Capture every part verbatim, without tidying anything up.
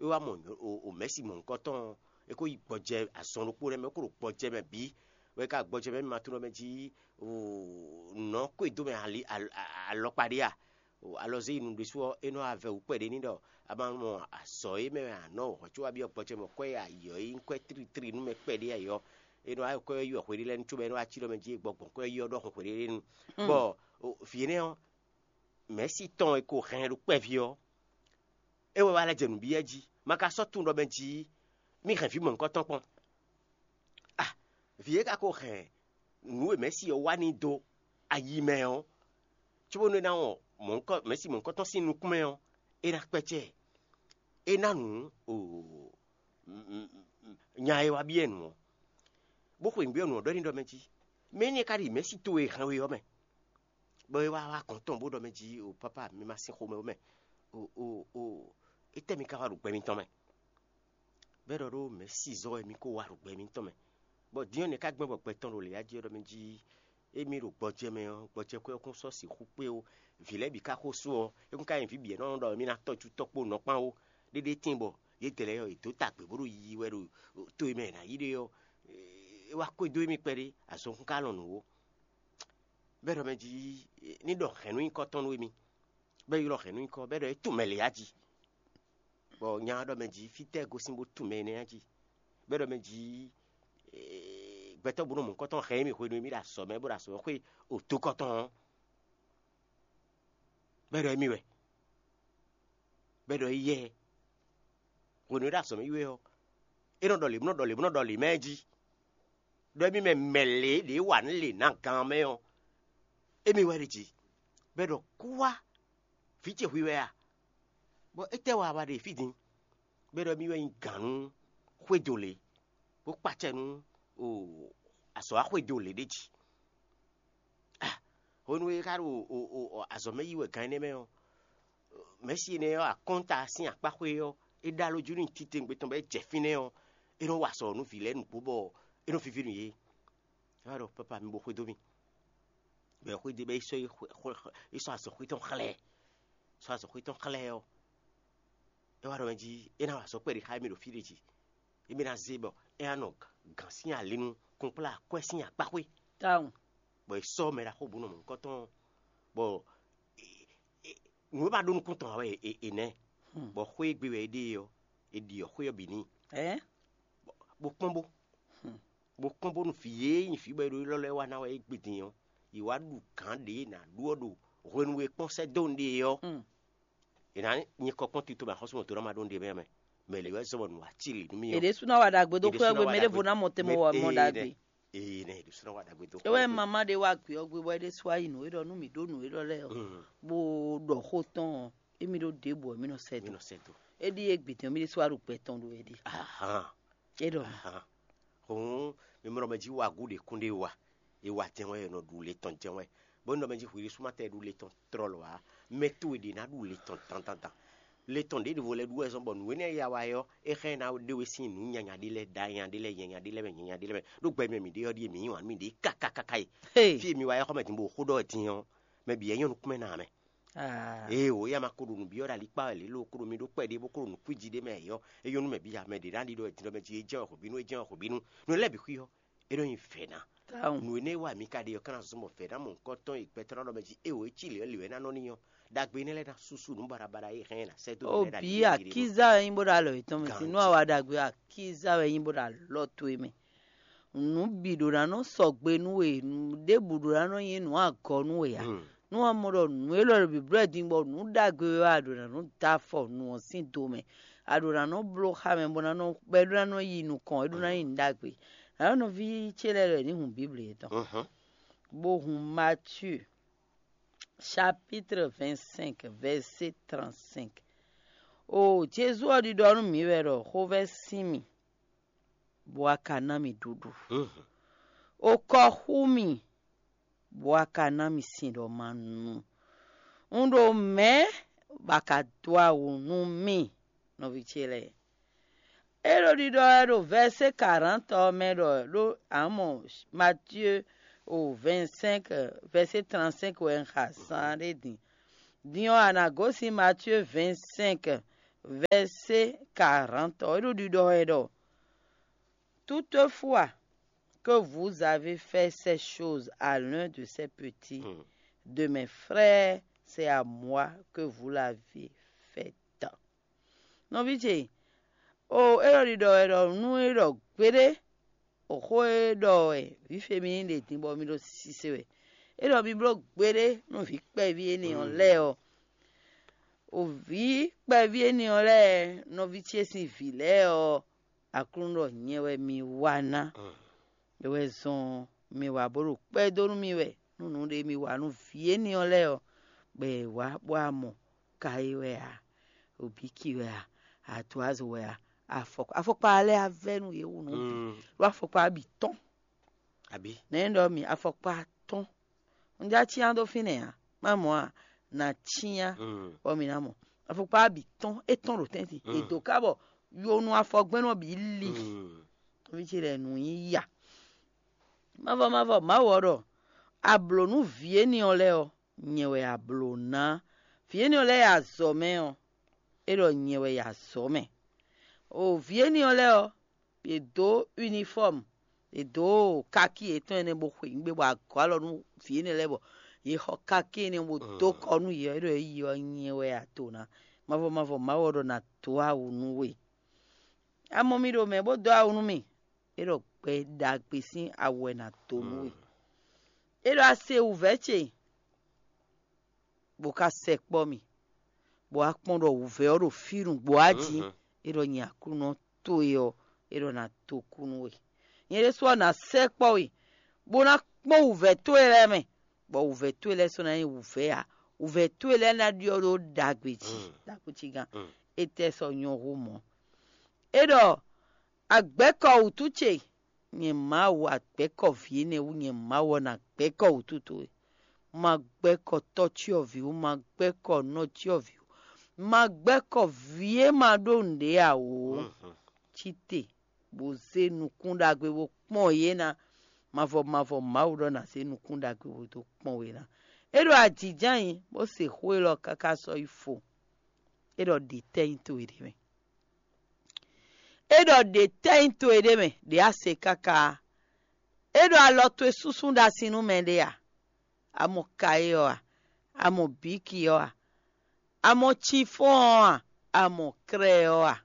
É wá mɔ o mɛ̌si mɔ̌hunkɔtɔn ɔ́, é ko yi gbɔjɛ azɔn ɖokpó lɛ́ɛ mɛ, é ko ɖo gbɔjɛ mɛ bǐ, bɔ é ka gbɔjɛ mɛ ma tunɔ mɛ jí nɔ̌ ko e dó mɛ ali alɔkpa ɖé a? Alɔzé yi nu ɖésú ɔ́, é nɔ wá vɛ wǔ kpɛɖé ní ɖɔ a ma mɔ azɔ̌ e mɛ wɛ a nɔ hɔ̌ có wá byɔ́ gbɔjɛ mɛ kwɛ́ e ayǐ ɔ́, é nyí kwɛ́ tlítlí nú mɛ kpɛɖé ayǐ ɔ́, é nɔ wá kwɛ́ yi wɛ hweɖé lɛ́ɛ nu cóbɔ é nɔ wá cí ɖɔ mɛ jí é gbɔ gbɔn kwɛ́ yi ɔ́ ɖɔhun hweɖé nu. Bɔ vǐ énɛ́ ɔ́, mɛ̌si tɔn e ko hɛn ɖo kpɛví ɔ́, é wɛ wá lɛ́ jɛ nǔ byɔ́ jí. Ma ka sɔ́ tunwun ɖɔ mɛ jí mì hɛn vǐ mɔ̌hunkɔtɔn kpɔ́n. A, vǐ e ka ko hɛn nǔ e mɛ̌si ɔ́ wá n'i dó ayi mɛ ɔ́, cóbónú é ná wɔn mɔ̌hunkɔ mɛ̌si mɔ̌hunkɔtɔn sín nukún mɛ ɔ́, é ná kpɛ́cɛ́ ɛ. É ná nǔ nya e wá byɔ́ ɛ nǔ ɔ́, bó xweyǐgbe ɔ́ nǔ ɔ́ ɖɔ n'i ɖɔ mɛ jí: Mɛ̌ nɛ́ ka ɖi mɛ̌si towe e hɛn we ɔ́ mɛ? Bɔ é wá wá gɔ̌n tɔn bó ɖɔ mɛ jí: O pápá, mi ma sín xomɛ ó mɛ. O o o, étɛ́ mi ka wá ɖo gbɛ mitɔn mɛ? Bɔ é ɖɔ ɖó mɛ̌si zɔ́ wɛ mi ko wá ɖo gbɛ mitɔn mɛ. Bɔ din ɔ́, nɛ̌ ka gbɛn bɔ gbɛ tɔn ɖo lě jí ɔ́ ɖɔ mɛ jí: Émí ɖo gbɔjɛ mɛ ɔ́, gbɔjɛkwɛ́ ɔ́ kún sɔ́ sixú kpé ó. Vǐ lɛ́ɛ bǐ ka xo sú ɔ́, é kún ka nyí vǐ bǐ e nɔ ɖɔ émí ná tɔ́jú tɔ́ kpó nɔ kpán ó. Ɖéɖé tíin bɔ yědɛɛ lɛ́ɛ ɔ́, yě dǒ ta gbě bó ɖo yiyi wɛ ɖo to e mɛ è nǎ yí ɖe ɔ́, é wá xwedó émí kpɛɖé, azɔn kún ka lɔn nǔ ó. Bɔ é ɖɔ mɛ jí ní ɖɔ hɛ̌nnu nyíkɔ tɔn nú émí, bɔ é ylɔ́ hɛ̌nnu nyíkɔ, bɔ é ɖɔ é tunwun mɛ lě á jí. Bɔ nya ɔ́ ɖɔ mɛ jí: Fítɛ́ gosín bó tunwun mɛ énɛ́ á jí? Bɔ é ɖɔ mɛ jí: Gbɛtɔ́ bó nɔ mɔ̌hunkɔtɔn hɛn émí hwenu e mí ɖo azɔ̌ mɛ bó ɖo azɔ̌ xwé otokɔtɔn ɔ́, bɔ é ɖɔ émí wɛ, bɔ é ɖɔ éyɛ́. Hwenu e é ɖo azɔ̌ mɛ yi wɛ ɔ́, é nɔ ɖɔ lě bó nɔ ɖɔ lě bó nɔ ɖɔ lě mɛ jí, ɖɔ émí mɛ mɛ lě ɖě wa nǔ lě ná gán mɛ ɔ́, émí wɛ ɖe jí, bɔ é ɖɔ: Kú wá, vǐ ce hwi wɛ a? Bɔ étɛ́ wa wá ɖe fí din? Bɔ é ɖɔ émí wɛ nyí gǎn nú xwédo lě, bó kpacɛ nú azɔ̌ wá xwédo lě ɖé jí. Hwenu e é ka ɖo azɔ̌ mɛ yi wɛ gan énɛ́ mɛ ɔ́, mɛ̌si énɛ́ ɔ́, akɔ́nta sín akpáxwé ɔ́, é ɖó alɔ jí nú titewungbe tɔn bɔ é jɛ fínɛ́ ɔ́, é nɔ wa azɔ̌ nú vǐ lɛ́ɛ nǔgbó bɔ é nɔ víví nú yě. É wá ɖɔ: Pápá, mi bo xwedó mì. Bɔ é xwedó bɔ é sɔ́ é sɔ́ azɔ̌xwé tɔn xlɛ́, sɔ́ azɔ̌xwé tɔn xlɛ́ ɔ́, é wá ɖɔ mɛ jí é ná wa azɔ̌ kpɛɖé xá émí ɖo fí ɖé jí. Émí ná zé bɔ é ná nɔ gǎn sín ali nú kɔnkplá akwɛ́ sín akpáxwé. Tawun. Bɔ è sɔ́ mɛ ɖaxó bǔ nɔ mɔ̌hunkɔtɔn, bɔ nǔ e ma ɖó nukún tɔn ǎ wɛ è nɛ́, bɔ xwé e gbe wɛ é ɖe ɔ́, è ɖi ɔ́ xwé ɔ́ bǐ n'i, bó kpɔ́n bó bó kpɔ́n bónú vǐ e nyí vǐ bɔ è ɖo élɔ́ lɛ́ɛ wa ná wɛ é gbe din ɔ́, yě wá ɖu gǎn ɖě è nǎ ɖu ɔ́ ɖo hwenu e kpɔ́n sɛ́ dó nǔɖé ɔ́. È nǎ nyí kɔkpɔ́n tito mɛ axɔ́súmɔtɔ́ ná ma ɖó nǔɖé mɛ mɛ. Mɛ lě wɛ zɔ́n bɔ nǔ wá cí lǐ nú mì È ɔ́. Ɖésú ná wa ɖagbe dó È xwé ɖésú ná ɔ́ gbe, wa mɛ ɖěvo ɖagbe. Ná mɔ te mɔ Mɛ- wɔ mɔ ee, ɖagbe. Nɛ, ee, nɛ, è ɖésú ná wa ɖagbe dó É xwé wɛ ɔ́ gbe. Mama ɖé wa gbě ɔ́ gbe bɔ é ɖésú ayi nǔ é ɖɔ nú mǐ ɖó nǔ é ɖɔ lɛ́ɛ ɔ́, Mm. Bó ɖɔ xó tɔn ɔ́, émí ɖó ɖěbǔ ɔ́, mí nɔ sɛ Mí dó. Nɔ sɛ dó. É ɖíe gbǐtɔ́ mí ɖésú wa ɖo gbɛ tɔn ɖo é ɖi. Ahan. É ɖɔ mǐ. Ahan. Hǔn mi mɔ ɖɔ mɛ jí wa gǔ ɖě kún ɖé wa. È wa jɛ́n wɛ, è nɔ ɖu le tɔn jɛ́n wɛ. Bó nɔ mɛ jí hwi ɖésú ma tɛ ɖu le tɔn tlɔlɔ ǎ. Mɛ towe ɖě ná ɖu le tɔn dandandan. Le tɔn ɖěɖěvo lɛ́ɛ ɖu wɛ zɔ́n bɔ nǔ énɛ́ e ya wa é ɔ́, é xá ɛ ná ɖe we sín nǔ nyanya ɖé lɛ́ɛ, ɖa nya ɖé lɛ́ɛ, nyanya ɖé lɛ́ɛ mɛ, nyanya ɖé lɛ́ɛ mɛ. Ɖó gbɛ mɛ mǐ ɖe ɔ́ ɖíe mǐ yí wǎn nú mǐɖée kákákáká e. Hey. Fí e mi wa é xɔ mɛ din bó xó ɖɔ wɛ din ɔ́, mɛ bǐ wɛ nyɔ́ nukúnmɛ ná ǎ mɛ. Ah. Ee o, éyɛ́ ma ko ɖo nǔ byɔ́ ɖo alikpá wɛ lě lo, ko ɖo mi ɖó kpɛɖé bó ko ɖo nǔ kwíji ɖé mɛ ǎ ɔ́, é nyɔ́ nú mɛ bǐ ya mɛ ɖě ná ɖi ɖɔ wɛ din ɖɔ mɛ jí é jɛ́n wɛ hwebǐnu, é jɛ́n wɛ hwebǐnu. Nǔ lɛ́ɛ bǐ xwí ɔ́, é nɔ nyi vɛ̌ ná. Tawun. Nǔ énɛ́ e wa mǐ ka ɖe ɔ́, ka ná zɔ́n bɔ vɛ̌ ná mɔ̌hunkɔtɔn e gbɛtɔ́ ná ɖɔ mɛ jí é o, é cí lě ɔ́ lě wɛ é ná nɔ n'i ɔ́, ɖagbe énɛ́ lɛ́ɛ ná súsú nǔ baɖabaɖa e hɛn ɛ ná sɛ́ dó mǐ O lɛ́ɛ ɖo bǐ, ali jí ɖe. Akíza wɛ nyí bó ɖo alɔ yětɔn mɛ sin. Nú Ganji. Awa ɖagbe Akíza wɛ nyí bó ɖo alɔ towe mɛ. Nǔ bǐ ɖó ná nɔ sɔgbe nú we, nǔ ɖěbǔ ɖó ná nɔ nyí nǔ agɔ nú we ǎ. Hmm. Nú a mɔ ɖɔ nǔ élɔ́ ɖo bǐblɔ́ din bɔ nǔ ɖagbe wɛ wɛ a ɖǒ ná nɔ dó afɔ nǔ ɔ́ sín do mɛ, a ɖǒ ná nɔ bló xá mɛ bó ná nɔ bɔ é ɖó ná nɔ yi nukɔn, é ɖó ná nyí nǔ ɖagbe. Nǎ nɔví ce lɛ́ɛ lɔ è ní hun Bíbli yětɔn, Mhm. Bó hun Matíu chapitre vingt-cinq, verset trente-cinq. O Jezu ɔ́ ɖiɖɔ nú mǐ wɛ ɖɔ xovɛ́ sín mì, bɔ a ka ná mì ɖuɖu. Mhm. O kɔ xú mì, bɔ a ka ná mì sin ɖɔ ma nu. Un ɖo mɛ̌ bɔ a ka dó awu nú mì, nɔví ce lɛ́ɛ? É ɖo ɖiɖɔ wɛ ɖo vɛ̌sé karantɔ ɔ́ mɛ ɖɔ ɖó amɔ Matíe o vɛ̌nsɛ́nk vɛ̌sé trantɛ́nk wɛ un xa zán ɖé din. Din ɔ́, a nǎ gosín Matíe vɛ̌nsɛ́nk Vɛ̌sé karantɔ é ɖo ɖiɖɔ wɛ ɖɔ: Toutefois que vous avez fait ces choses à l'un de ces petits de mes frères, c'est à moi que vous l'avez fait. Nɔví ce, o é ɖɔ ɖiɖɔ wɛ ɖɔ nú é ɖɔ gbeɖé o xó e ɖɔ wɛ vǐ Femini ɖe din bɔ mi ɖo sise wɛ. É ɖɔ mi bló gbeɖé nú vǐ kpɛví énɛ́ ɔ́ lɛ́ɛ ɔ́. O vǐ kpɛví énɛ́ ɔ́ lɛ́ɛ, nɔví ce sín vǐ lɛ́ɛ ɔ́, Aklúnɔ ɖɔ nyɛ wɛ mi wa ná. É wɛ zɔn mi wa bó ɖo kpɛ́ dó nú mì wɛ nú nǔɖé mi wa nú vǐ énɛ́ ɔ́ lɛ́ɛ ɔ́, bɔ è wǎ bó wá mɔ ka é wɛ ǎ, obíki wɛ ǎ, atuazo wɛ ǎ, afɔkpa afɔkpa lɛ́ɛ á vɛ́ nú yě wú nǔ bǐ, ɖó afɔkpa bǐ tɔ́n. Abǐ? Nɛ̌ ɖɔ mi afɔkpa tɔ́n? Un já cyán dó fínɛ́ ǎ, má mɔ a nǎ cyán, bɔ mǐ ná mɔ. Afɔkpa bǐ tɔ́n, é tɔ́n ɖo tɛ́ntin, è dǒ ká bɔ yonu afɔgbɛ́nɔ bǐ li. Nɔví ce lɛ́ɛ nǔ nyí ya. Mavɔ mavɔ Mawu ɔ́ ɖɔ: A blǒ nú vǐ énɛ́ ɔ́ lɛ́ɛ ɔ́, nyɛ wɛ a blǒ ná. Vǐ énɛ́ ɔ́ lɛ́ɛ e azɔ̌ mɛ ɔ́, é ɖɔ nyɛ wɛ yi azɔ̌ mɛ. O vǐ énɛ́ ɔ́ lɛ́ɛ ɔ́, yě dó unifɔ́mu, yě dó káki yětɔn énɛ́ bó xweyǐgbe bɔ a gɔ́ alɔ nú vǐ énɛ́ lɛ́ɛ bɔ yě xɔ káki énɛ́ bó dó kɔ nú yě ɔ́, é ɖɔ é yi ɔ́ nyɛ wɛ a to ná. Mavɔ mavɔ Mawu ɔ́ ɖɔ ná dó awu nú we. A mɔ mi ɖo mɛ bó dó awu nú mì, é ɖɔ gbɛ ɖagbe sín awu wɛ ná dó nú we. É ɖɔ a se wǔvɛ́ ce, bó ka sɛkpɔ́ mì, bɔ a kpɔ́n ɖɔ wǔvɛ́ ɔ́ ɖo fí nǔgbó a jí, é ɖɔ nyɛ Aklúnɔ towe ɔ́, é ɖɔ ná dó kú nú we. Nyɛ ɖésú ɔ́ ná sɛkpɔ́ we, bó ná kpɔ́n wǔvɛ́ towe lɛ́ɛ mɛ, bɔ wǔvɛ́ towe lɛ́ɛ sɔ́ ná nyí wǔvɛ́ ǎ. Wǔvɛ́ towe lɛ́ɛ ná ɖyɔ́ ɖó ɖagbe jí, ɖaxó cí gán. Étɛ́ sɔ́ nyɔ́ hú mɔ̌? É ɖɔ: Agbɛ̌kɔ wǔtu ce, nyɛ Mawu, agbɛ̌kɔ vǐ énɛ́ wú, nyɛ Mawu ɔ́ ná gbɛ̌kɔ wǔtu towe. Ma gbɛ́kɔ tɔ́cyɔvǐ wú, ma gbɛ́kɔ nɔcyɔvǐ wú, ma gbɛ́kɔ vǐ e ma ɖó nǔɖé ǎ ó. Cí te, bó zé nukún ɖagbe bó kpɔ́n yě ná. Mavɔ mavɔ Mawu ɖɔ ná zé nukún ɖagbe bó dó kpɔ́n we ná. É ɖo ajǐjǎnyi, bó se xó élɔ́ káká sɔ́ yi fo. É ɖɔ ɖě tɛ́ nyí towe ɖé mɛ. É ɖɔ ɖě tɛ́ nyí towe ɖé mɛ, ɖě a se káká a? É ɖɔ alɔ towe súnsún ɖo asi nú mɛɖé a? A mɔ kayé ɔ́ a? A mɔ bǐki ɔ́ a? A mɔ cifɔ́n ɔ́ a? A mɔ krɛ ɔ́ a?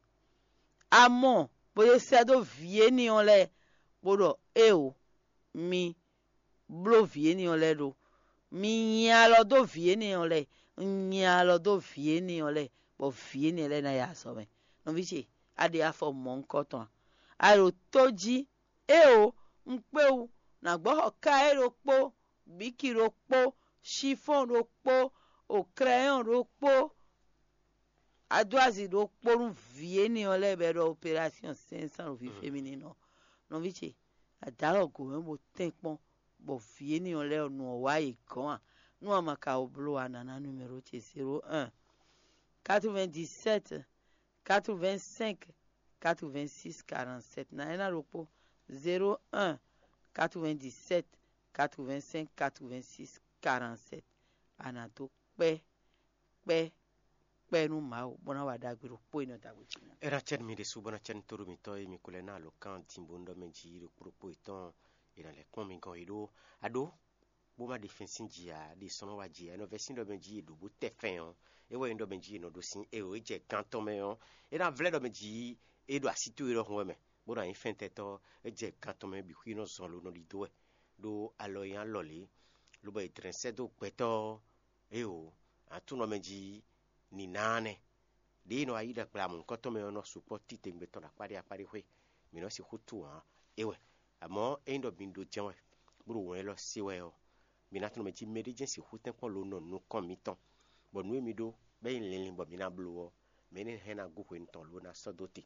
A mɔ bó ɖe sɛ́ dó vǐ énɛ́ ɔ́ lɛ́ɛ, bó ɖɔ: Éeǒ, mi bló vǐ énɛ́ ɔ́ lɛ́ɛ ɖó. Mi nyi alɔ dó vǐ énɛ́ ɔ́ lɛ́ɛ, un nyi alɔ dó vǐ énɛ́ ɔ́ lɛ́ɛ, bɔ vǐ énɛ́ lɛ́ɛ ná yi azɔ̌ mɛ. Nɔví ce, a ɖe afɔ mɔ̌hunkɔtɔn a? A ɖo tó jí, éeǒ, un kpé wú, nǎ gbɔ xɔ ká é ɖokpó, bǐki ɖokpó, cifɔ́n ɖokpó, o krɛyɔn ɖokpó, adwázi ɖokpó nú vǐ énɛ́ ɔ́ lɛ́ɛ bɔ è ɖɔ operásyɔn sɛ́nsán ɖo vǐ féminin ɔ́. Nɔví ce, a dǒ alɔ gǒ mɛ bó tɛ́nkpɔ́n, bɔ vǐ énɛ́ ɔ́ lɛ́ɛ ɔ́, nu ɔ́ wá yě gɔ́n a? Nú a ma ka ko bló ǎ, nǎ ná numéro ce: zéro un, quatre-vingt-dix-sept, quatre-vingt-cinq, quatre-vingt-six, quarante-sept. Ná é ná ɖokpó: zéro un, quatre-vingt-dix-sept, quatre-vingt-cinq, quatre-vingt-six, quarante-sept. A nǎ dó kpɛ́ kpɛ́ kpɛ́ nú Mawu, bó ná wa ɖagbe ɖokpó e nɔ da gbe jí ná. É ná cɛ́ nú mi ɖésú, bó ná cɛ́ nú tóɖó mitɔ́ e mi ko lɛ́ ná alǒkan din bó nú ɖɔ mɛ jí ɖokpó ɖokpó yětɔn, è nǎ lɛ́ kpɔ́n mi gɔ́n yě ɖó aɖó, bó má ɖe fɛ́n sín jǐ ǎ, ɖe sɔ́ nɔ wá jǐ ǎ. É nɔ vɛ́ sín ɖɔ mɛ jí è ɖǒ bó tɛ fɛn ɔ́, é wɛ nyí ɖɔ mɛ jí è nɔ ɖó sín éeǒ é jɛ gán tɔn mɛ ɔ́, é ná vlɛ́ ɖɔ mɛ jí é ɖo así towe ɖɔhun wɛ mɛ, bó ná nyí fɛntɛ́tɔ́, é jɛ gán tɔn mɛ bǐ xwí nɔ zɔn lo nɔ ɖidó wɛ, ɖó alɔ e nyí alɔ lě, lobɔ è dlɛ̌n sɛ́ dó gbɛtɔ́ ɔ́. Éeǒ, aklúnɔ mɛ jí nǐnáánɛ ɖě e nɔ wá yí ɖagblá mɔ̌hunkɔtɔn mɛ ɔ́ nɔ sukpɔ́ titewungbe tɔn ɖo akpáɖé akpáɖé xwé. Mǐ nɔ sixú tunwun ǎ, é wɛ. Amɔ̌, ényí ɖɔ mi ɖo jɛ́n wɛ, bó ɖo wɛn élɔ́ se wɛ ɔ́, mi ná tunwun mɛ jí mɛɖé jɛ́n sixú tɛ́nkpɔ́n lo nɔ nukɔn mitɔn, bɔ nǔ e mi ɖó bɔ é nyí linlin bɔ mi ná bló ɔ́, mɛ énɛ́ hɛn ná gú hwenu tɔn lo ná sɔ́ dó te,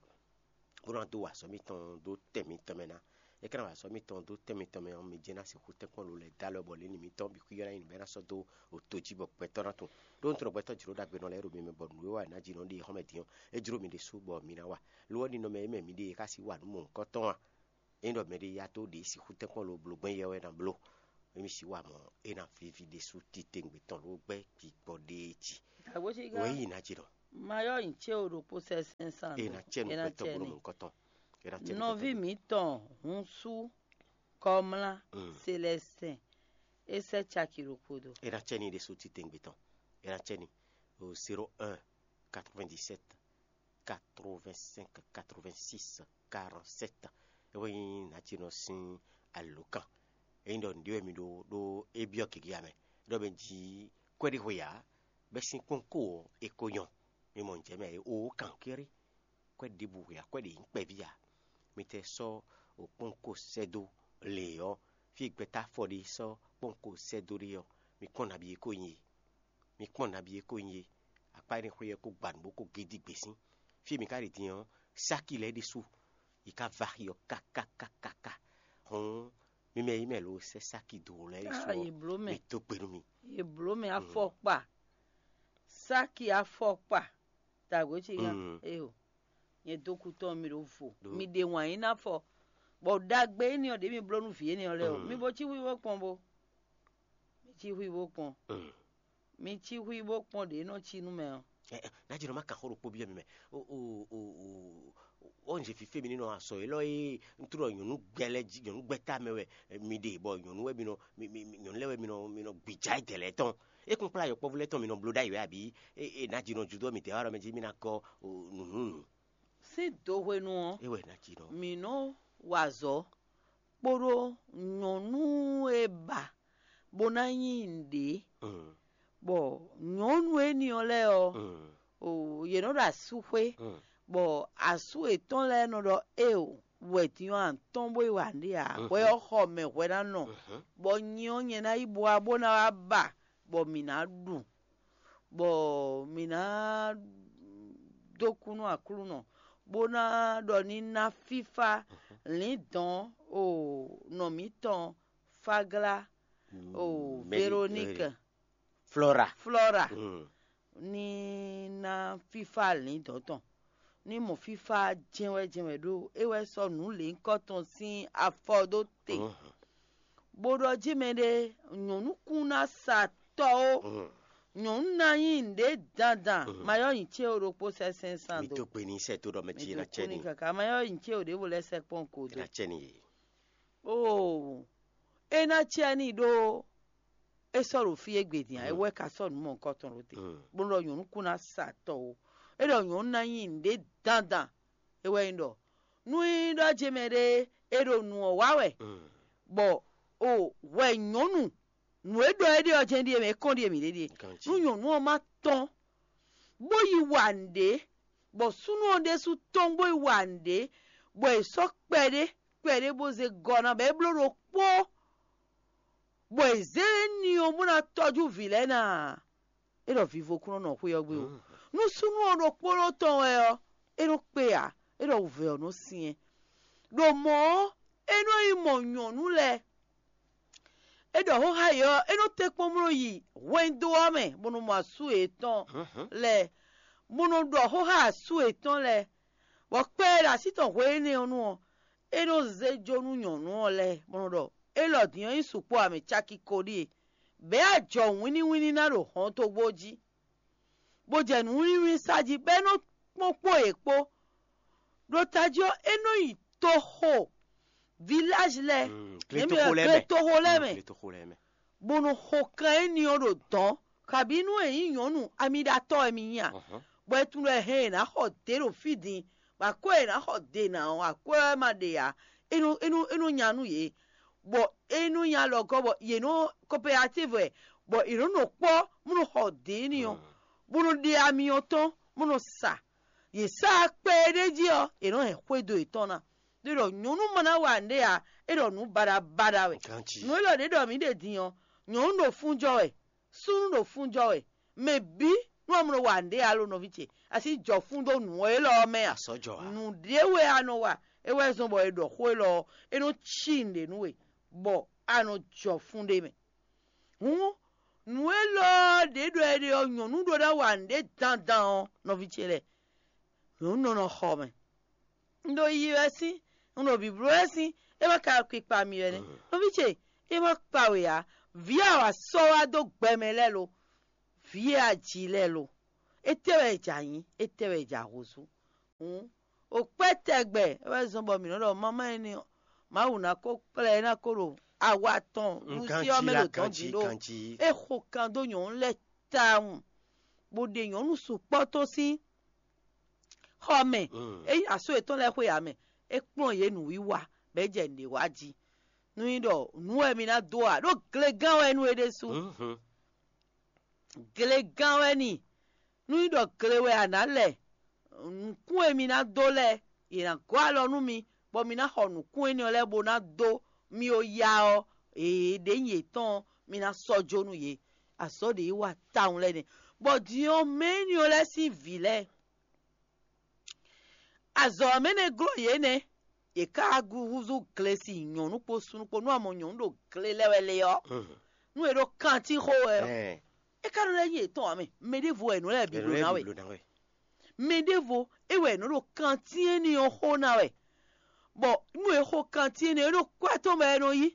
bó ná dó wa azɔ̌ mitɔn dó tɛn mitɔn mɛ ná. É ka ná wa azɔ̌ mitɔn dó tɛn mitɔn mɛ ɔ́, mi jɛ́n ná sixú tɛ́nkpɔ́n lo lɛ́ɛ dó alɔ bɔ lǐnlin mitɔn bǐ xwíyɔ́ ná nyi nǔ bɔ é ná sɔ́ dó oto jí bɔ gbɛtɔ́ ná tunwun. Ɖó un tunwun ɖɔ gbɛtɔ́ jlǒ ɖagbenɔ lɛ́ɛ ɖo mi mɛ bɔ nǔ e wa è nǎ ji nɔ ɖe xɔ́mɛ din ɔ́, é jló mi ɖésú bɔ mi ná wa. Lo ɔ́, ninɔmɛ e mɛ mi ɖe é ka sixú wa nǔ mɔ̌hunkɔtɔn a? Ényí ɖɔ mɛɖé yá dó ɖě sixú tɛ́nkpɔ́n lo bló gbɛ́n yɛ wɛ ná bló, émí sixú wa mɔ̌, é ná víví ɖésú titewungbe tɔn ló gbɛ́ gbigbɔ ɖéé jí. Wěyi ná ce nɔ. Mayɔ́ nyi cé o ɖokpó sɛ́ sɛ́n san. E ná cɛ nu gbɛtɔ́ bó nɔ mɔ̌kɔtɔn. E ná cɛ nu Nɔví mǐtɔn Húnsú Kɔmlá Selɛsɛn é sɛ́ caki ɖokpó dó. E ná cɛ ni ɖésú titewungbe tɔn. E ná cɛ ni o zéro un quatre-vingt-dix-sept quatre-vingt-cinq quatre-vingt-six quarante-sept. É wɛ nyí nǎjínɔ sín alǒkan. É nyí ɖɔ nǔɖé wɛ mi ɖó ɖó é byɔ́ gěgé ǎ mɛ. Ɖɔ mɛ jí kwɛ́ɖíxwe ǎ, bɛ́ sín kpɔ́nko ɔ́, è ko nyɔ. Mi mɔ nǔjɛ mɛ ǎ é ó kankéré. Kwɛ́ ɖěbǔ hwe ǎ, kwɛ́ ɖě nyí kpɛví ǎ. Mi tɛ sɔ́ kpɔ́nko sɛ́ dó lě ɔ́, fí e gbɛtɔ́ afɔ ɖé sɔ́ kpɔ́nko sɛ́ dó ɖé ɔ́, mi kpɔ́n nabí e ko nyí e. Mi kpɔ́n nabí e ko nyí e. Akpá énɛ́ xwé ɔ́ ko gba nǔ bó ko gé dí gbě sín. Fí e mi ka ɖi din ɔ́, sáki lɛ́ɛ ɖésú, yi ka va axi ɔ́ kákákákáká. Hɔn mi mɛ yi mɛ lo sɛ́ sáki dó lɛ́ɛ ɖésú Ah, ɔ́, yě bló mɛ. Mi dó gbe nú mi. Yě bló mɛ afɔkpa, sáki afɔkpa, dǎgbé ce nya Mm. eyo, nyɛ dó kú tɔn mi ɖo vo, Ɖo- mi ɖe wǎn yín ná fɔ, bɔ ɖagbe énɛ́ ɔ́ ɖě mi bló nú vǐ énɛ́ ɔ́ lɛ́ɛ o, Mm. mi bo cí hwíhó kpɔn bo, mi cí hwíhó kpɔn, Mm. mi cí hwíhó kpɔn ɖě nɔ cí nú mɛ ɔ́. Ɛ, ɛ, Nádìrɔ má kà xó ɖokpó byɔ́ mi mɛ. O o o o o nze fífé mi nínú asɔ élɔ́ é ntúɖɔ nyɔ̌nu gbɛ lɛ́ jí nyɔ̌nu gbɛ tá mɛ wɛ mi ɖe bɔ nyɔ̌nu wɛ mi nɔ mi mi mi- nyɔ̌nu lɛ́ wɛ mi nɔ mi nɔ gbìjà é dɛ̌ lɛ́ɛ tɔn. É kún kplá yɔkpɔ́vú lɛ́ɛ tɔn mi nɔ bló ɖ'ayǐ wɛ abǐ é é nádìrɔ judó mi dɛ̌ wá ɖɔ mɛ jí mi ná gɔ́ o nǔnúnú. Sín do hwenu ɔ́, É wɛ nádìrɔ. Mǐ nɔ wa azɔ̌ kpódó nyɔ̌nu e ba bó ná nyí nǔɖé, Mm. Bɔ nyɔ̌nu énɛ́ ɔ́ lɛ́ɛ ɔ́, Mm. o, yě nɔ ɖo asúxwé, Mm. Bɔ asú yětɔn lɛ́ɛ nɔ ɖɔ éeǒ, wɛ din ɔ́ a nǎ tɔ́n bó yi wa nǔɖé ǎ, hwɛ ɔ́ xɔ mɛ hwɛ ná nɔ, bɔ nyi ɔ́ nyɛ ná yi bó wá bó ná wá ba, bɔ mǐ ná ɖu, bɔ mǐ ná dó kú nú Aklúnɔ, bó ná ɖɔ ní ná fífá lǐndɔ̌n o nɔ mǐtɔn Fáglá o Veroníke. Flora. Flora ní ná fífá lǐndɔ̌n tɔn, ní mɔ fífá jɛ́nwɛ́ jɛ́nwɛ́ ɖó é wɛ sɔ́ nǔ lěhunkɔ́tɔn sín afɔ dó te, bó ɖɔ jí mɛɖé nyɔ̌nu kún ná sa tɔ ó, nyɔ̌nu ná nyí nǔɖé dandan, mayɔ́ nyi cé o ɖokpó sɛ́ sɛ́n san Mi dó. Tó gbe ní sɛ tó ɖɔ mɛ jí ná cɛ ní. Kaka mayɔ́ nyi cé o ɖěvo lɛ́ sɛkpɔ́n ko dó. Ná cɛ ní. Oo, é ná cɛ ní ɖó é sɔ́ ɖo fí e gbe din ǎ, é wɛ ka sɔ́ nǔ mɔ̌hunkɔtɔn ɖó te, bó ɖɔ nyɔ̌nu kún ná sa tɔ ó. É ɖɔ nyɔ̌nu ná nyí nǔɖé dandan, é wɛ nyí ɖɔ nú nyí ɖɔ jɛ mɛ ɖé é ɖo nǔ ɔ́ wa wɛ, bɔ o hwɛ nyɔ̌nu nǔ e ɖɔ é ɖe ɔ́ jɛ́n ɖíe mɛ é kɔn ɖíe mǐ ɖe ɖíe. Nú nyɔ̌nu ɔ́ má tɔ́n bó yi wa nǔɖé, bɔ súnnu ɔ́ ɖésú tɔ́n bó yi wa nǔɖé, bɔ è sɔ́ kpɛɖé kpɛɖé bó zé gɔ́ ná bɔ é bló ɖokpó, bɔ è zě ní ɔ́ bó ná tɔ́jú vǐ lɛ́ɛ ná, é ɖɔ vivo kún nɔ nɔ xwé ɔ́ gbe ó. Nú súnnu ɔ́ ɖokpónɔ tɔn wɛ ɔ́, é nɔ kpe ǎ, é ɖɔ wǔvɛ́ ɔ́ nɔ syɛ́n. Ɖo mɔ̌ ɔ́, é nɔ yi mɔ nyɔ̌nu lɛ́ɛ. É ɖɔ xóxá yě ɔ́, é nɔ tɛ́nkpɔ́n bó nɔ yi hwɛndo ɔ́ mɛ, bó nɔ mɔ asú yětɔn lɛ́ɛ, bó nɔ ɖɔ xóxá asú yětɔn lɛ́ɛ, bɔ kpɛ e ɖo así tɔn hwe énɛ́ ɔ́ nu ɔ́, é nɔ zé jó nú nyɔ̌nu ɔ́ lɛ́ɛ, bó nɔ ɖɔ: Élɔ́ din ɔ́ nyí sukpɔ́ ǎ, mɛ caki ko ɖíe, bɛ̌ ajɔ̌ wínníwínní ná ɖo hɔntogbó jí, bó jɛ nǔwínníwínní sa jí, bɔ é nɔ kpɔ́n kpó yě kpó. Ɖo tají ɔ́, é nɔ nyi toxo, vilázi lɛ́ɛ, Mm, yě mɛ gletoxo lɛ́ɛ mɛ. Gletoxo lɛ́ɛ Mm, mɛ, gletoxo lɛ́ɛ mɛ. Bó nɔ xo kan éní ɔ́ ɖo dɔ̌n, kabǐ nú è nyí nyɔ̌nu amiɖatɔ́ wɛ mi nyí a? Ɔhɔn. Bɔ é tunwun ɖɔ hɛn è nǎ xɔ dě ɖo fí din, bɔ akwɛ́ è nǎ xɔ dě ná ɔ́, akwɛ́ wɛ ma ɖe ǎ. É nɔ é nɔ é nɔ nya nú yě, bɔ é nɔ nya lɔ gɔ́ bɔ yě nɔ kɔpɛyatív wɛ, bɔ yě nɔ nɔ kpɔ́ bó nɔ xɔ dě éní ɔ́, bó nɔ ɖe ami ɔ́ tɔn bó nɔ sa. Yě sa kpɛ e ɖ'é jí ɔ́, è nɔ hɛn xwédo yětɔn ná. Ɖé ɖɔ nyɔ̌nu ma ná wa nǔɖé ǎ, é ɖɔ nǔ baɖabaɖa wɛ. Ganjí. Nǔ élɔ́ ɖě ɖɔ mǐ ɖe din ɔ́, nyɔ̌nu ɖo fún jɔ wɛ, súnnu ɖo fún jɔ wɛ. Mɛ bǐ nú a mɔ wa nǔɖé ǎ lo nɔví ce, a sí jɔ fún dó nǔ élɔ́ ɔ́ mɛ a? Asɔ́ jɔ ǎ. Nǔɖé wɛ a nɔ wa, é wɛ zɔ́n bɔ è ɖɔ xó élɔ́ ɔ́, é nɔ cí nǔɖé nú we, bɔ a nɔ jɔ fún ɖé mɛ. Hǔn nǔ élɔ́ ɖě ɖɔ è ɖe ɔ́, nyɔ̌nu ɖó ná wa nǔɖé dandan ɔ́, nɔví ce lɛ́ɛ, nyɔ̌nu nɔ nɔ xɔ mɛ. Un ɖo yiyi wɛ sín, un ɖo bǐbló wɛ sín, é ma ka kpikpa mì wɛ nɛ́. Nɔví ce, é ma kpa we ǎ. Vǐ awǎ sɔ́ wá dó gbɛ mɛ lɛ́ɛ lo, vǐ e a ji lɛ́ɛ lo, Étɛ́ wɛ è jǎ nyí? Étɛ́ wɛ è jǎ húzú? Hǔn, o kpɛ́ tɛgbɛ é wɛ zɔ́n bɔ mǐ nɔ́ ɖɔ mamá énɛ́ ɔ́, Mawu ná ko kplá ɛ ná ko ɖo awa tɔn ɖusí ɔ́ mɛ ɖo dɔn din ɖó. É xo kan dó nyɔ̌nu lɛ́ɛ tawun, bó ɖe nyɔ̌nu sukpɔ́ tɔn sín xɔ mɛ. É yi asú yětɔn lɛ́ɛ xwe ǎ mɛ, é kplɔ́n yě nǔwiwa, bɔ é jɛ nǔɖé wa jí. Nú nyí ɖɔ nǔ wɛ mi ná dó ǎ, ɖó glegán wɛ nú é ɖésú. Glegán wɛ ni. Nú nyí ɖɔ gle wɛ a nǎ lɛ nǔkún e mi ná dó lɛ́ɛ, yě ná gɔ́ alɔ nú mi, bɔ mi ná xɔ nǔkún énɛ́ ɔ́ lɛ́ɛ bó ná dó mi ó ya ɔ́, è ɖě nyi yětɔn ɔ́, mi ná sɔ́ jó nú yě. Azɔ̌ ɖě yi wa tawun lɛ́ɛ nɛ́. Bɔ din ɔ́, mɛ énɛ́ ɔ́ lɛ́ɛ sín vǐ lɛ́ɛ, azɔ̌ ɔ́ mɛ nɛ́ glɔ́ yě nɛ́. Yě ká húzú glesi nyɔ̌nu kpó súnnu kpó nú a mɔ nyɔ̌nu ɖo gle lɛ́ wɛ lé ɔ́, nú è ɖo kantín xó wɛ ɔ́, é ká nɔ lɛ́ nyí yětɔn ǎ mɛ. Mɛ ɖěvo wɛ nǔ lɛ́ɛ bǐ bló ná wɛ. Mɛ ɖěvo é wɛ è nɔ ɖo kantín énɛ́ ɔ́ xó ná wɛ, bɔ nú è xo kantín énɛ́ ɔ́, é ɖo kwɛ́ tɔn mɛ wɛ è nɔ yí.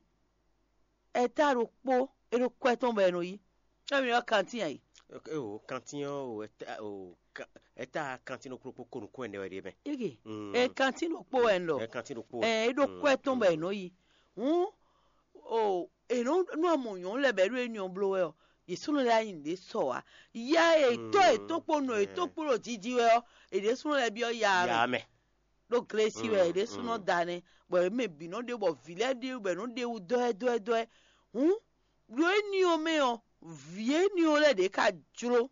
Ɛta ɖokpó, é ɖo kwɛ́ tɔn bɔ è nɔ yí. Emi ɔ́ kantín ayǐ. O kantín ɔ́ o ɛta o ka- ɛta kantín ɖokpó kpó ko nukún ɛnɛ wɛ ɖe mɛ. Ege, Mm. ɛ kantín ɖokpó wɛ un ɖɔ. Ɛ kantín ɖokpó. Ɛ é ɖo Mm, kwɛ́ tɔn bɔ è mm. nɔ yí. Hǔn o è nɔ nú amɔ nyɔ̌nu lɛ́ɛ bɔ é ɖo énɛ́ ɔ́ bló wɛ ɔ́, yě súnnu lɛ́ɛ nyi ɖě sɔ wá. Ya e tɔ́ e tɔ́ kpó nɔ e tɔ́ kpó ɖo jiji wɛ ɔ́, è ɖě súnnu lɛ́ɛ byɔ́ ya mɛ. Ya mɛ. Ɖó glesi wɛ Mm, ɖésúnɔ mm. da nɛ́, bɔ yě mɛ bǐ nɔ ɖe bɔ vǐ lɛ́ɛ ɖe bɔ è nɔ ɖe wú dɔ́ɛdɔ́ɛdɔ́ɛ. Hǔn, ɖo éní ɔ́ mɛ ɔ́, vǐ éní ɔ́ lɛ́ɛ ɖě ka jló,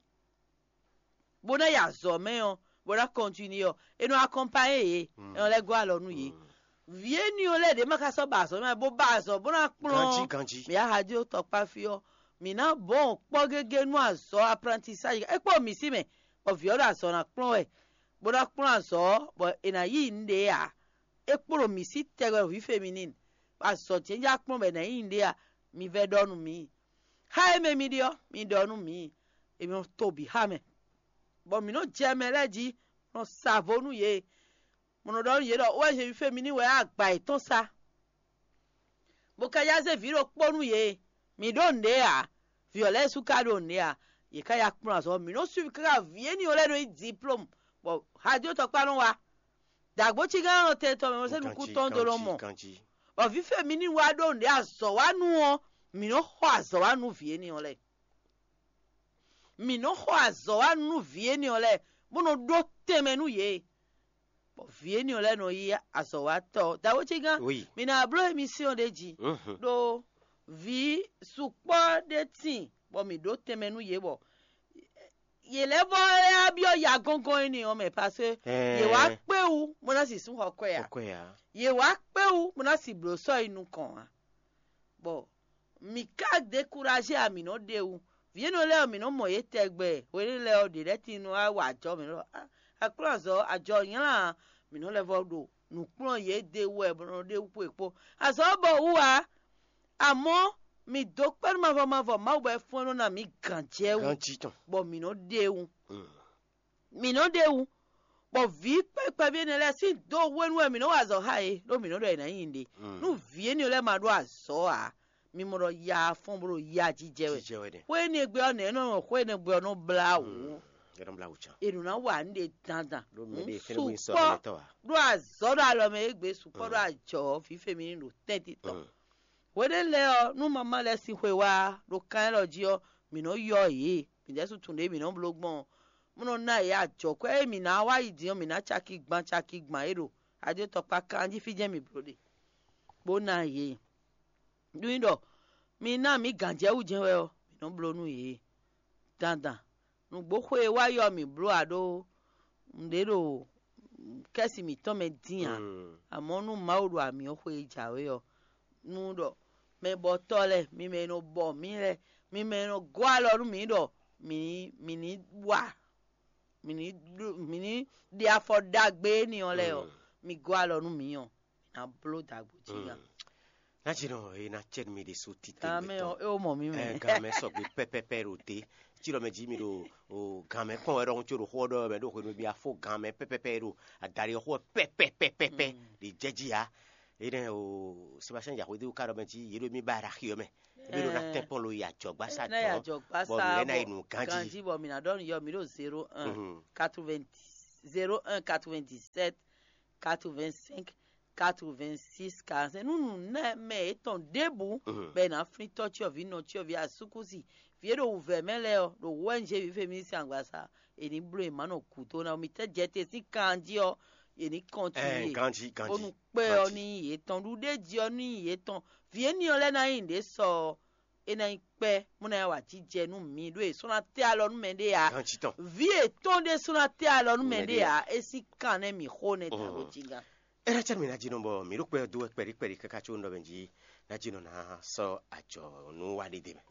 bó ná yi azɔ̌ mɛ ɔ́, bó ná kɔntinué ɔ́, è nɔ akɔnpanyé yě, è nɔ lɛ́ gɔ́ alɔ nú yě. Vǐ éní ɔ́ lɛ́ɛ ɖě ma ka sɔ́ ba azɔ̌ mɛ, bó ba azɔ̌ bó ná kplɔ́n Ganjí, ganjí. Mǐ aha dó tɔkpá fí ɔ́, mǐ ná bɔn kpɔ́ gégé nú azɔ̌ aprantisáji é kpó mǐ sí mɛ, bɔ vǐ ɔ́ ɖo azɔ̌ ná kplɔ́n wɛ, bó ná kplɔ́n azɔ̌ ɔ́, bɔ è nǎ yí nǔɖé ǎ. É kpo ɖo mǐ sí tɛgbɛ vǐ feminine, bɔ azɔ̌ jɛ́njɛ́n kplɔ́n bɔ è nǎ yí nǔɖé ǎ. Mi vɛ́ ɖɔ nú mǐ. Xá e mɛ mi ɖe ɔ́, mi ɖɔ nú mǐ. È nɔ to bǐ xá mɛ, bɔ mǐ nɔ jɛ mɛ lɛ́ɛ jí, nɔ sa vo nú yě. Mo nɔ ɖɔ nú yě ɖɔ ó wɛ zě vǐ feminine wɛ agba yětɔn sá, bó ka yá zé vǐ ɖokpó nú yě. Mǐ ɖó nǔɖé ǎ. Vǐ ɔ́ lɛ́ɛ sú ka ɖó nǔɖé ǎ. Yě ká ya kplɔ́n azɔ̌. Mǐ nɔ́ suivi káká vǐ éní ɔ́ lɛ́ɛ nɔ yí diplôme, bɔ hajó tɔkpá nɔ wá. Dǎgbócígán nɔ tɛn tɔn mɛ mɔ sɛ́ nukún tɔn dó nɔ mɔ. Bɔ vǐ fɛ́ mi ní wá ɖó nǔɖé azɔ̌ wá nú ɔ́, mǐ nɔ́ xɔ azɔ̌ wá nú vǐ éní ɔ́ lɛ́ɛ. Mǐ nɔ́ xɔ azɔ̌ wá nú vǐ éní ɔ́ lɛ́ɛ, bó nɔ ɖó tɛnmɛ nú yě. Bɔ vǐ éní ɔ́ lɛ́ɛ nɔ yí azɔ̌watɔ́. Dǎwécígán, Oui. Mi ná bló émisíɔn ɖé jí. Mhm. Ɖó vǐ sukpɔ́ ɖé tíin, bɔ mǐ ɖó tɛnmɛ nú yě, bɔ yě lɛ́ vɔ lɛ́ byɔ́ ya gɔ́ngɔ́n énɛ́ ɔ́ mɛ, parce que Ɛɛ. Yě wá kpé wú, bó ná sì sún xɔ kwɛ ǎ. Xɔ kwɛ ǎ. Yě wá kpé wú, bó ná sì blǒ sɔ́ yi nukɔn ǎ. Bɔ mǐ ka dekuraze a mǐ nɔ ɖe wú. Vǐ énɛ́ lɛ́ɛ ɔ́, mǐ nɔ mɔ yě tɛgbɛ. Hwenɛ́ lɛ́ɛ ɔ́, ɖě lɛ́ɛ tín nɔ wá wa ajɔ mǐ ɖɔ: "Ah, Aklúnɔzɔ, ajɔ nylá a." Mǐ nɔ lɛ́ vɔ ɖo nǔ kplɔ́n yě ɖe wú wɛ bɔ nɔ ɖe wú kpó è kpó. Azɔ̌ ɔ́ bɔ wú ǎ. Amɔ̌, mǐ dó kpɛ́ nú mavɔ mavɔ Mawu bɔ é fɔ́n nɔ ná mǐ gǎnjɛwú, Ganjí tɔn. Bɔ mǐ nɔ ɖe wú. Mm. Mǐ nɔ ɖe wú, bɔ vǐ kpɛví énɛ́ lɛ́ɛ sín do hwenu wɛ mǐ nɔ wa azɔ̌ xá yě, ɖó mǐ nɔ ɖɔ è nǎ nyi ɖe. Mm. Nú vǐ énɛ́ lɛ́ɛ ma ɖó azɔ̌ ǎ, mi mɔ ɖɔ ya fɔ́n bó ɖo ya jijɛ wɛ. Jijɛ wɛ ɖe. Xwé énɛ́ gbe ɔ́, nɛ̌ nɔ xwé énɛ́ gbe ɔ́ nɔ blá wǔ? Mm. É nɔ blá wǔ can. È nɔ ná wa nǔɖé dandan. Ɖó mɛ Nǔ ɖe fɛ́nɛ wú sukpɔ́ sɔ́ mɛ tɔ́ ǎ. Ɖó azɔ̌ ɖo alɔ mɛ égbé sukpɔ́ Mm. Ɖó ajɔ vǐ fɛ́ mi ní ɖo tɛ́ntin tɔn. Mm. Hweɖé lɛ́ɛ ɔ́, nú mamá lɛ́ɛ sín xwe wá ɖo kan élɔ́ jí ɔ́, mǐ nɔ́ yɔ yě, mǐ ɖɛ́ sú tunwun ɖě mǐ nɔ́ bló gbɔn ɔ́. Bó nɔ́ ná yě ajɔ̌kwɛ́ e mǐ ná wá yi din ɔ́, mǐ ná caki gban caki gban é ɖo ajotɔkpa kanjí fí jɛ́n mǐ bló ɖe, bó ná yě. Nú nyí ɖɔ mi ná mǐ gǎnjɛwú jɛ́n wɛ ɔ́, mǐ nɔ́ bló nú yě dandan. Nǔgbó xwe e wá yɔ mǐ bló ǎ ɖó nǔɖé ɖo kɛ́si mǐtɔn mɛ dín ǎ. Mm. Amɔ̌ nú Mawu ɖo amǐ ɔ́ xwe e jǎwe ɔ́, nú ɖɔ mɛbɔtɔ́ lɛ́ɛ, mi mɛ e nɔ bɔ mǐ lɛ́ɛ, mi mɛ e nɔ gɔ́ alɔ nú mǐ ɖɔ mǐ ní mǐ ní wa, mǐ ní ɖó- mǐ ní ɖe afɔ ɖagbe énɛ́ ɔ́ lɛ́ɛ ɔ́, Mm. mi gɔ́ alɔ nú mǐ ɔ́, mǐ ná bló dǎgbó jí gán. Mm. Ná jí nɔ é ná cɛ mi ɖe so tite Gan mɛ gbɛtɔ. Ɔ́, é wó mɔ mí mɛ. Ɛ, gan mɛ sɔgbe pɛpɛpɛ ɖo te. Tí lɔ mɛ jí mi ɖo o gan mɛ kpɔn wɛ ɖɔhun tso ɖo xó ɔ́ ɖɔ mɛ ɖo xwenu bí afó gan mɛ pɛpɛpɛ ɖo adari xó pɛpɛpɛpɛ Mm. Ɖi jɛ jí ya. Énɛ́ o, Sébastien Yaxwédéwu ka ɖɔ mɛ jí yě ɖo mì ba ɖo axi ɔ́ mɛ. Ébí ɖo ná tɛ́nkpɔ́n lo yi ajɔ̌gbásá tɔn, bɔ nǔ lɛ́ɛ ná yi nǔ ganjí. Ganjí bɔ mǐ ná ɖɔ nǔ yɔ mǐ ɖo zéro un quatre-vingt-dix, zéro un quatre-vingt-dix-sept quatre-vingt-cinq quatre-vingt-six quarante-cinq. Nú nǔ nɛ́ mɛ yětɔn ɖěbǔ bɔ è nǎ flín tɔ́ cyɔ́vǐ, nɔ cyɔ́vǐ, asúkúsi, vǐ e ɖo wǔvɛ́ mɛ lɛ́ɛ ɔ́, ɖo wɛ̌nzé vǐ féminisɛn agbaza, è ní bló yě má nɔ gǔdo ná. Mi tɛ́ jɛ te sín kan jí ɔ́, è ní kɔntinue. Ganjí, ganjí, bónú kpɛ́ ɔ́ ní nyí yětɔn, ɖuɖéji ɔ́ ní nyí yětɔn. Vǐ éní ɔ́ lɛ́ɛ ná nyí nǔɖé sɔ ɔ́, é ná nyí kpɛ́, bó ná wá jijɛ nú mi, ɖó è sɔ́ ná tɛ́ alɔ nú mɛɖé ǎ. Ganjí tɔn. Vǐ yětɔn ɖé sɔ́ ná tɛ́ alɔ nú mɛɖé ǎ. É sín kan nɛ́ mǐ xo nɛ́ ta ɖo jínga. É ná cɛ mǐ ná jí nɔ bɔ mǐ ɖo kpɛ́ dó wɛ kpɛɖí kpɛɖí káká có un ɖɔ mɛ jí ná jí nɔ ná sɔ́ ajɔ nú wa ɖé dé mɛ.